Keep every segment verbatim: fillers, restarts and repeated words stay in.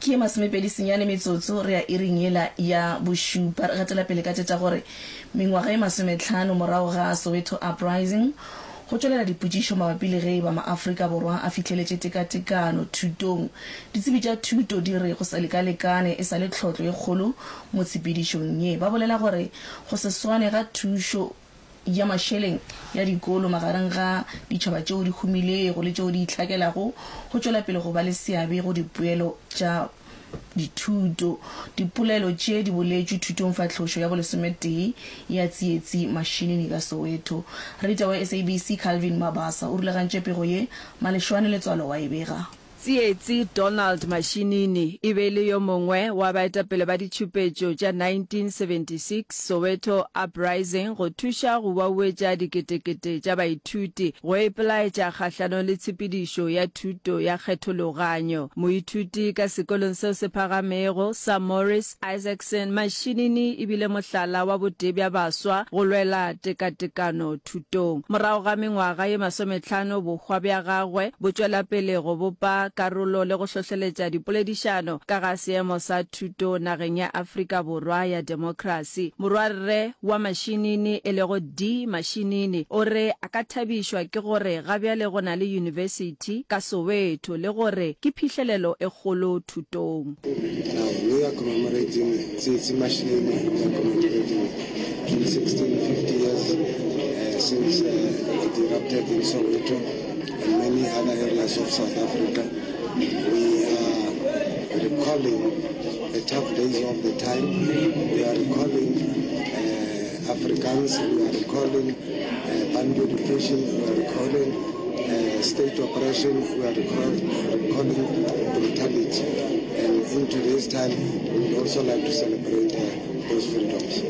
Ke ye masomepedi senyane metsotso re ya iring yela ya bošupa. Re gatela pele ka tše tša gore mengwaga ye masometlhano morago ga Soweto Uprising, go tšwelela dipotšišo mabapi le ge e ba maAfrika Borwa a fihleletše tekatekano thutong. Ditsebi tša thuto di re go sa lekalekane e sa le tlhotlo ye kgolo mo tshepedišong ye. Ba bolela gore go se swane ga thušo ya mašeleng ya dikolo magareng ga ditšhaba tšeo di humilego le tšeo di itlhakelago go tšwela pele go ba le seabe go dipoelo tša dithuto. Dipolelo tše di boletšwe thutongfahlošo ya bolesometee ya Tsietsi Mashinini ka Soweto. Rita wa S A B C Calvin Mabasa o rulagantše pego ye, Malešwane Letswalo wa e bega. Tsietsi Donald Mashinini e be e le yo mongwe wa baetapele ba ditšhupetšo tša nineteen seventy six Soweto Uprising go thuša go wauetša diketekete tša baithuti go ipelaetša kgahlanong le tshepedišo ya thuto ya kgethologanyo. Moithuti ka sekolong seo se phagamego sa Morris Isaacson, Mashinini e bile mohlala wa botee bja baswa go lwela tekatekano thutong. Morago ga mengwaga ye masometlhano, bohwa bja gagwe bo tšwela pele go bopa karolo le go hlohleletša dipoledišano ka ga seemo sa thuto nageng ya Afrika Borwa ya demokrasi. Morwarre wa Mashinini e lego D Mashinini o re a ka thabišwa ke gore ga bjale go na le yunibesithi ka Soweto le gore ke phihlelelo e kgolo thutong. Now we are commemorating Tsietsi Mashinini, we are commemorating June sixteen, fifty years uh, since uh, it erupted in Soweto and many other areas of South Africa. We are recalling the tough days of the time. We are recalling uh, Afrikaans, we are recalling uh, Bantu education, we are recalling uh, state oppression, we are recall, recalling brutality. And in today's time, we would also like to celebrate uh, those freedoms.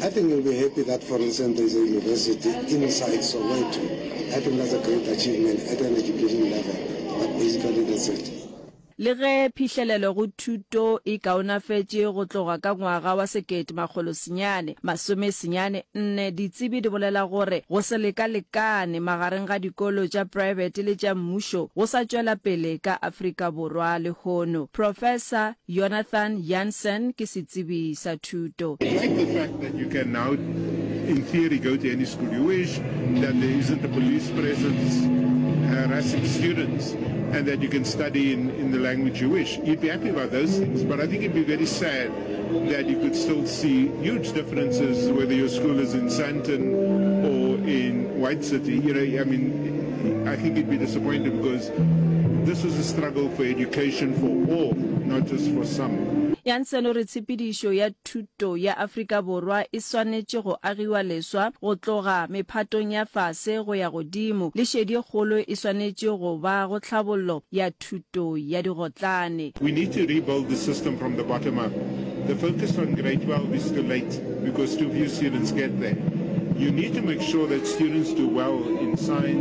I think you'll be happy that, for instance, there's a university inside Soweto. I think that's a great achievement at an education level. But basically, that's it. Le ge phihlelelo go thuto e kaonafetše go tloga ka ngwaga wa sekete makgolo senyane masome senyane nne, ditsebi di bolela gore go se lekalekane magareng ga dikolo tša praebete le tša mmušo go sa tšwela pele ka Afrika Borwa lehono. Professor Jonathan Jansen ke setsebi sa thuto. I like the fact that you can now, in theory, go to any school you wish, that there isn't a police presence harassing students, and that you can study in, in the language you wish. You'd be happy about those things, but I think it'd be very sad that you could still see huge differences whether your school is in Sandton or in White City. You know, I mean, I think you'd be disappointed because this was a struggle for education for all, not just for some. Jansen o re tshepedišo ya thuto ya Afrika Borwa e swanetše go agiwa leswa go tloga mephatong ya fase go ya godimo, le šedi e kgolo e swanetše go ba go tlhabollo ya thuto ya digotlane. We need to rebuild the system from the bottom up. The focus on grade twelve is too late because too few students get there. You need to make sure that students do well in science.